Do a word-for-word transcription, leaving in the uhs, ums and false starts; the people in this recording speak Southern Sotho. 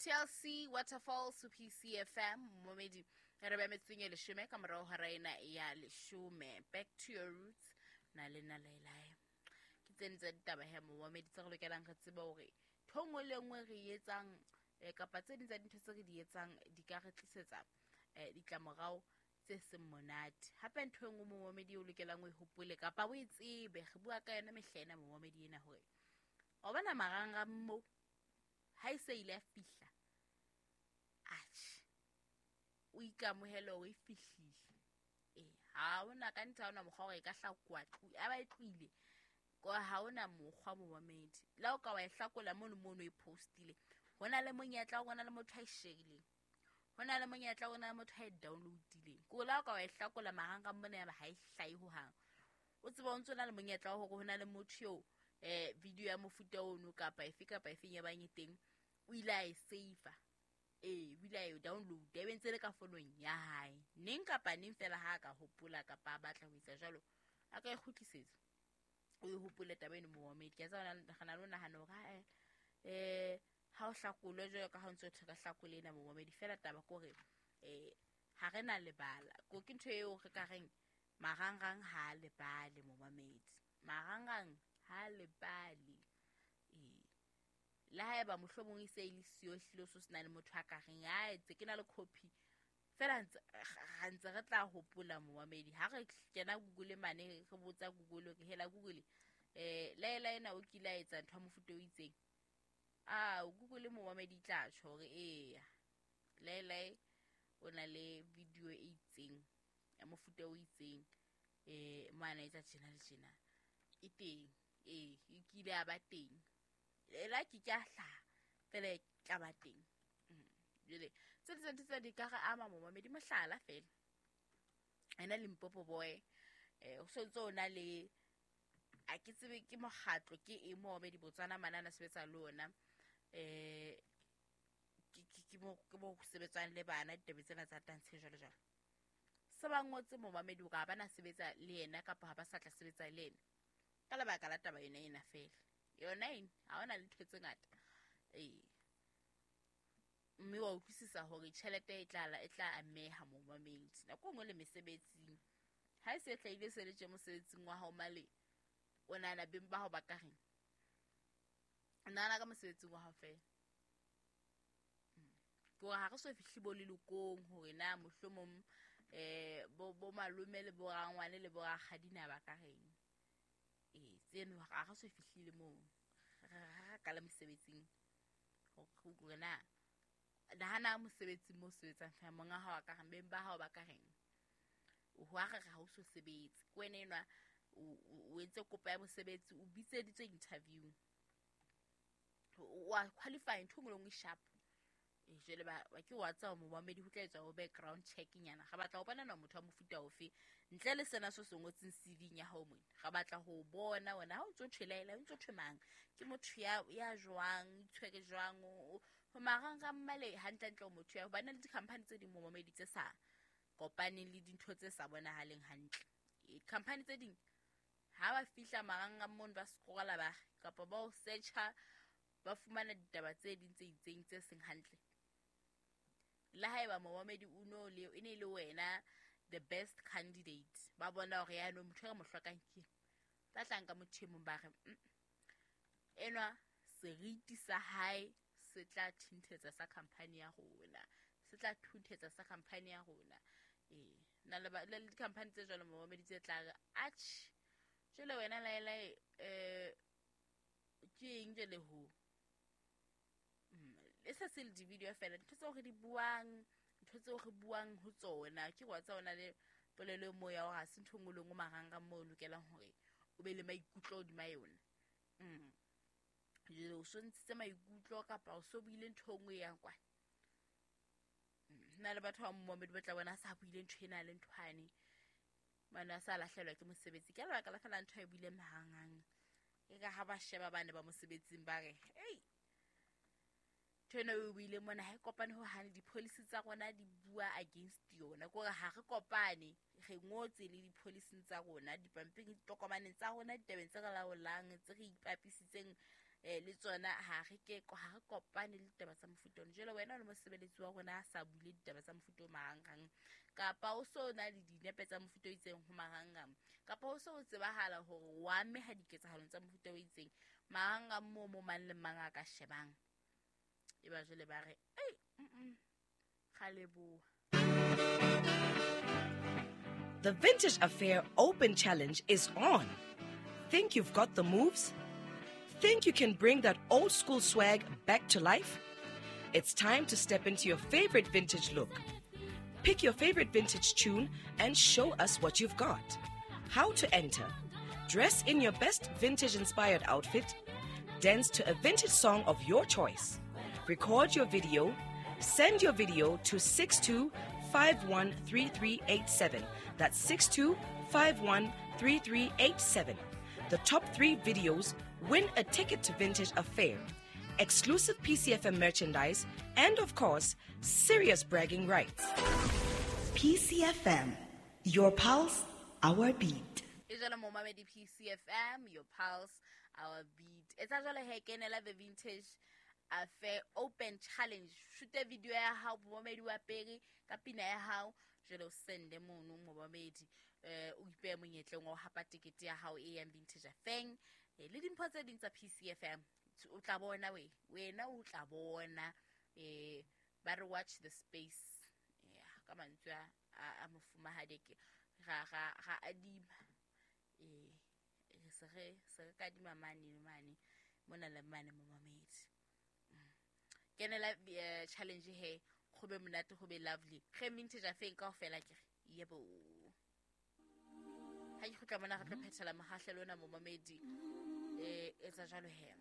T L C Waterfalls, P C F M momedi. Re ba metseng e leshome ka morao hora ena ya leshome. Back to your roots na le nna Laelae. Ke tsene tsa ditaba he momedi tse re lokelang re tsebe hore ntho e nngwe le nngwe re e etsang, eh, kapa tse ding tsa dintho tse re di etsang di ka re tlisetsa eh, ditlamorao tse seng monate. Hape ntho e nngwe momamedi o lokelang o e hopole kapa o e tsebe, re bua ka yona mehla ena momamedi ena, hore wa bona marangrang mo ha e se ile ya fihla, atjhe, o ikamohele hore e fihlile. Ee, ha ona ka nnete, ha ona mokgwa hore e ka hlakoha a ba e tlohile, ha ona mokgwa momamedi. Le ha o ka wa e hlakola mono mono e postile, ho na le monyetla ho na le motho a e sharileng, ho na le monyetla ho na le motho a e downloadileng. Ko le ha o ka wa e hlakola marangrang mona, yaba ha e hlahe hohang, o tseba o ntso na le monyetla wa hore ho na le motho eo eh video ya mofuta ono kapa efe kapa efeng ya bang e teng o ile a e save, ee, o ile a e download, e be ntse le ka fonong ya hae. Neng kapa neng fela ha a ka hopola kapa a batla ho etsa jwalo, a ka e kgutlisetsa. O e hopole taba eno momamedi. Ke a tseba re na le ho nahana hore eh ha o hlakolwe jwalo ka ha o ntso thwe ka hlakole ena momamedi. Fela taba ke hore eh ha re na lebala ko ke ntho eo re ka reng marangrang ha a lebale momamedi, marangrang ha a lebale. Ee, le haeba mohlomong e se e le siyo, ehlile o so se na le motho a ka reng a etse ke na le copy fela, ra ntse re tla hopola momamedi. Ha re kena Google mane, re botsa Google ke hela Google, eh laela ena o kile a etsa ntho ya mofuta o itseng, a Google momamedi e tla tjho hore eya, laelae o na le video e itseng ya mofuta o itseng, eh mo ana etsa tjena le tjena, e teng, ee, e kile ya ba teng, ela ke ke a hlaha fela e tla ba teng. Jwale tse ding tsa ntho tsena di ka re ama momamedi. Mohlala fela ena Limpopo Boy, eh ho sontso o na le, a ke tsebe ke mokgatlo ke eng momamedi, Botswana mane a na sebetsa le ona, eh ke ke mo ke mo sebetsang le bana ditaba tsena tsa tantshe jwalo jwalo. Se ba ngotse momamedi hore ha ba na sebetsa le yena kapa ha ba sa tla sebetsa le yena ka lebaka la taba yona ena fela yona ena. Ha hona le ntho tse ngata, ee, mme wa utlwisisa hore tjhelete e tla e tla ameha momamedi. Nako e nngwe le mesebetsing ha e se e hlahile se le tje mosebetsing wa hao male, o nahana beng ba hao ba ka reng? O nahana ka mosebetsing wa hao fela, ke hore ha re so fihle bo lelokong hore na mohlomong eh bo bo malome le bo rangwane le bo rakgadi na ba ka reng. Ee, tseno ha re so fihlile moo, re re ka le mosebetsing hore na nahana mosebetsing mo sebetsang fela, monga hao a ka reng, beng ba hao ba ka reng, ho a re re ha o so sebetse ke wena enwa o entse kopo ya mosebetsi, o bitseditswe interview, wa qualify, ntho e nngwe le nngwe sharp. E jwale ba ke wa tseba momamedi, ho tla etswa bo background check nyana, re batla ho bona na motho wa mofuta ofe ntle le sena se se ngotseng C V ya hao mona. Re batla ho bona wena ha o ntso thwe laela, o ntso thwe mang, ke motho ya ya jwang, itshwere jwang ho marangrang male hantle hantle, o motho ya hobane le di-company tse ding momamedi tse sa kopaneng le dintho tse sa bonahaleng hantle. Company tse ding ha ba fihla marangrang mono, ba scrolla ba kapa ba o searcha, ba fumana ditaba tse ding tse itseng tse seng hantle. Le haeba momamedi o no le e ne le wena the best candidate, ba bona hore yaanong motho e re mo hlokang ke ba tla nka motho e mong, ba re enwa seriti sa hae se tla thinthetsa sa company ya rona, se tla thunthetsa sa company ya rona. Ee, na le le di-company tse jwalo momamedi tse tla re atjhe, jwale wena laelae um ke eng jwale ho e se se le di-video fela, ntho tseo re di buang, ntho tseo re buang ho tsona ke wa tsa ona le polelo e moo ya hore ha se ntho e nngwe le nngwe marangrang moo o lokelang hore o be le maikutlo hodima yona. mm. Jwale o so ntshitse maikutlo kapa o so buile ntho e nngwe e yang kwana na le batho ba momamedi ba tla bona a sa buile ntho ena le nthwane mane, a sa lahlehelwa ke mosebetsi ka lebaka la fela ntho a e buileng marangrang. E ka ha ba sheba bane ba mosebetsing, ba re ei, ntho ena o buile mona ha e kopane ho hane, di-policy tsa rona di bua against yona, ke hore ha re kopane. Re ngotse le di-policing tsa rona, dipampiring, ditokomaneng tsa rona, ditabeng tse re laolang, tse re ipapisitseng Eh, le tsona ha re ke ha re kopane le ditaba tsa mofuta ono. Jwale wena o le mosebeletsi wa rona a sa bule ditaba tsa mofuta o marangrang, kapa o so na le dinepe tsa mofuta o itseng ho marangrang, kapa o so o tsebahala hore wa ameha diketsahalong tsa mofuta o itseng marangrang moo mo mang le mang a ka shebang. E ba jwale ba re, ei, mm ga leboha. The Vintage Affair Open Challenge is on. Think you've got the moves? Think you can bring that old school swag back to life? It's time to step into your favorite vintage look. Pick your favorite vintage tune and show us what you've got. How to enter: dress in your best vintage inspired outfit, dance to a vintage song of your choice, record your video, send your video to six two five one three three eight seven. That's six two five one three three eight seven. The top three videos win a ticket to Vintage Affair, exclusive P C F M merchandise, and of course, serious bragging rights. P C F M, your pulse, our beat. E jwalo mo mamedi P C F M, your pulse, our beat. Etsa jwalo he kenela the Vintage Affair Open Challenge. Shoot video ya hao momedi wa pere ka pina ya hao, jwale o sende mono momedi eh o ipehe monyetleng wa ho hapa tekete ya hao e yang Vintage Affair le dimpho tse ding tsa P C F M. O tla bona we, wena o tla bona eh ba re watch the space. Yeah, ka mantswe a a mofumahadi ke ga ga ga adima eh re se re se re kadima mane le mane mona le mane mo mamedi. Kenela challenge he go be monate go be lovely. Ge Vintage Affair kaofela ke re yebo. Ha ke kgutla mona re tlo phethela mohahlelo ona mo mamedi eh etsa jwalo he.